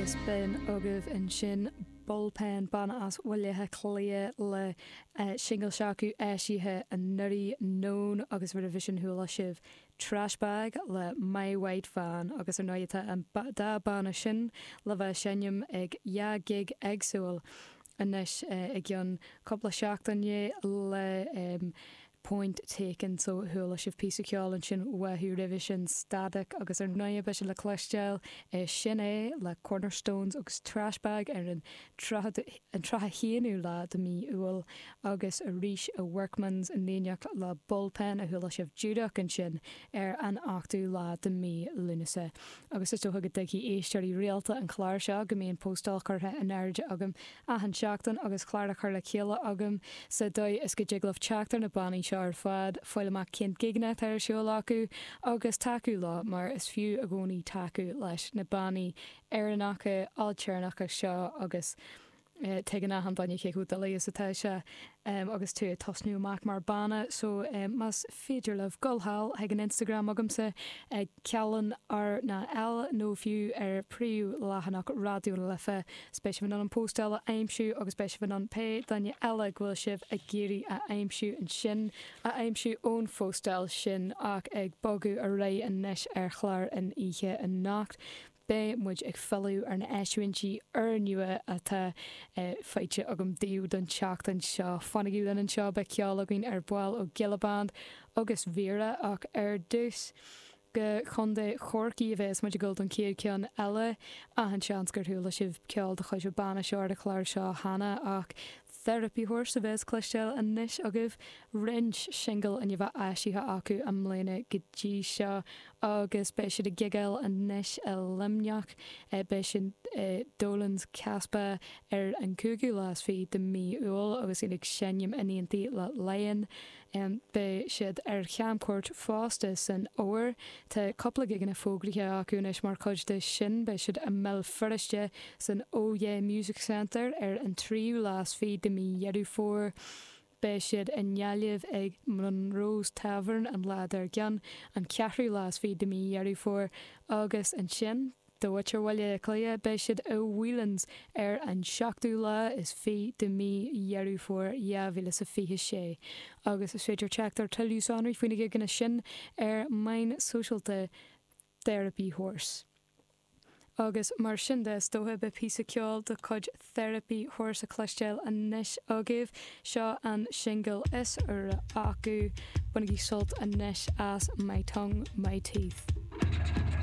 Agus b'in agaibh ansin Bullpen, banna as Bhaile Átha Cliath le singil s'acu eisithe anuraidh, Known, agus roimhe sin chuala sibh Trash Bag le My White Van agus ar ndóigh tá an dá banna sin le bheith ag seinm ag dhá gig éagsúil anois i gceann cúpla seachtaine le Point Taken so chuala sibh píosa ceoil ansin uathu roimhe sin Static agus ar ndóigh beidh siad le cloisteáil i Sin É le Cornerstones agus Trash Bag ar an an 31ú lá de mí Iúil agus arís i Workman's in éineacht le Bullpen a chuala sibh díreach ansin ar an 8ú lá de mí Lúnasa. Agus is dócha go dtuigfidh éisteoirí rialta an chláir seo go mbíonn postáil curtha in airde agam achan seachtain agus clár á chur le chéile agam sa dóigh is go dtig libh teacht ar na bannaí seo ar fad, fáil amach cén gigeanna atá ar siúl acu agus tacú leo mar is fiú i gcónaí tacú leis na bannaí Éireannacha, ailtéarnacha seo agus tuigeann achan duine cé chomh doiligh is atá sé agus tú ag tosnú amach mar banna so más féidir libh dul thall chuig an Instagram agamsa ag Cealann R ná L nó fiú ar príomh leathanach Raidió na Life is beidh sibh in ann an postáil a aimsiú agus beidh sibh in ann pé duine eile go bhfuil sibh ag iarraidh a aimsiú ansin a aimsiú ón phostáil sin ach ag bogadh ar aghaidh anois ar chlár an oíche anocht Beidh muid ag filleadh ar na eisiúintí úrnua atá faighte agam daoibh don tseachtain seo. Fanaigí linn anseo, beidh ceol againn ar ball ó Gilla Band agus Vera ach ar dtús, go Contae Chorcaí a bheas muid ag dul don chéad cheann eile. Achan seans gur chuala sibh ceol de chuid an banna seo ar an chlár seo cheana ach Therapy Horse a bheas cloisteáil anois agaibh. Roinnt singil i ndiaidh a bheith eisithe acu i mbliana go dtí seo agus beidh siad ag gigeáil anois i Luimneach. Beidh siad i Dolan's Casbah ar an cúigiú lá is fiche de mí Iúil agus iad ag seinm in éindí le Lion. Beidh siad ar chamchuairt fosta san fhómhar. Tá cúpla gigeanna fógraithe acu anois mar chuid de sin. Beidh siad i mBéal Feirste san Oh Yeah Music Centre ar an tríú lá is fiche de mí Dheireadh Fómhair. Beidh siad i nGaillimh ag Monroe's Tavern an lá dár gcionn, an ceathrú lá is fiche de mí Dheireadh Fómhair, agus ansin, do mhuintir Bhaile Átha Cliath, beidh siad i Whelan's ar an seachtú lá is fiche de mí Dheireadh Fómhair 2026. Agus is féidir teacht ar tuilleadh sonraí faoi na gigeanna sin ar meáin sóisialta Therapy Horse. Agus mar sin de, is dócha, beidh píosa ceoil de chuid Therapy Horse a chloisteáil anois agaibh. Seo an singil is úire acu. Bainigí sult anois as My Tongue, My Teeth.